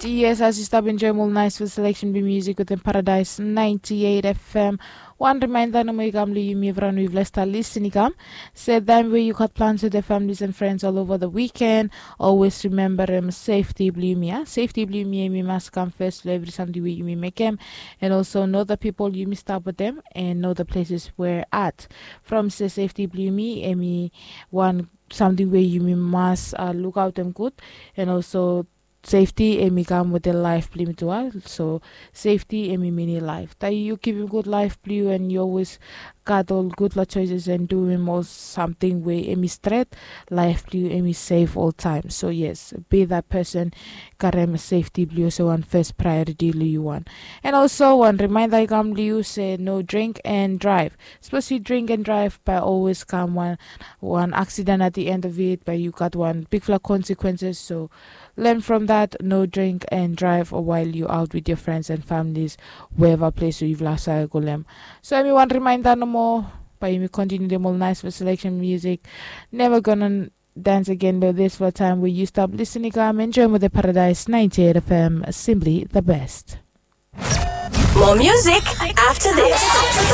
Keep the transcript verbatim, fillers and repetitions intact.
Yes, as yu stap enjoim ol naisful seleksen blong musik wetem Paradise ninety-eight F M. Wan rimainda nomo i kam long yumi evriwan we yufala stap lisin i kam se taim we yu gat plans wetem families and friends all over the weekend, always rememberem safety blong yumi a. Safety blong yumi em i mas kam fes long evri samting we yumi mekem, and also know the people yumi stap wetem and know the places where at. From se safety blong yumi em i wan samting we yumi mas uh, lukautem gud, and also safety em i kam wetem laif blong yumi tu a. So safety em i mini laif. Taim yu givim gud laif blong yu and yu always gat ol gudfala choices and duim ol samting we em i stret, laif blong yu em i sef oltaim. So yes, be that person, karem safety blong yu olsem wan first priority long yu wan. And also wan rimainda i kam long yu se no drink and drive. Sapos yu drink and drive, bae always kam wan wan accident at the end of it, bae yu gat wan bigfala consequences. So learn from that, no drink and drive while you out with your friends and families, wherever place we yufala save go long. So em i wan rimainda nomo, bae yumi kontiniu dem ol naisful seleksen musik. Never gonna dance again, but this for time we yu stap lisin i kam enjoim wetem Paradise ninety-eight F M, simply the best. More music after this.